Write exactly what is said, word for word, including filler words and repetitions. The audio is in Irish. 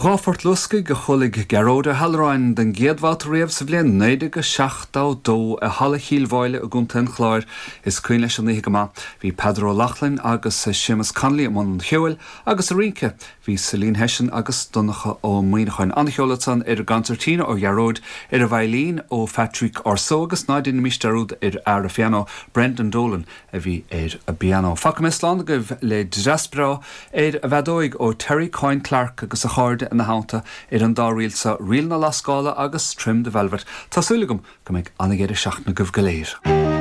Dhá phort luascaigh a chualaigh Gearóid Ó hAlluráin den gcéad bhabhta riamh sa bhliain naoi déag seachtó dó i Halla Chill Mháille i gContae an Chláir is cuimhin leis an oíche go maith. Bhí Peadar Ó Lochlainn agus Séamus Connolly i mbun an cheoil agus sa rince bhí Celine Hession agus Donncha Ó Muíneacháin. An-cheol ansan ar an gconsairtín ó Ghearóid ar an veidhlín ó Phatrick Orsó agus ná déanaimis dearúd ar fhear an phianó Brendan Dolan a bhí ar an bpianó. Fágfaidh mé slán agaibh le dreas breá ar an bhfeadóig ó Terry Coyne Clark agus a chairde ina theannta ar an dá ríl sa Ríl na Lascála agus Trim the Velvet. Tá súil agam go mbeidh an-deireadh seachtaine agaibh go léir.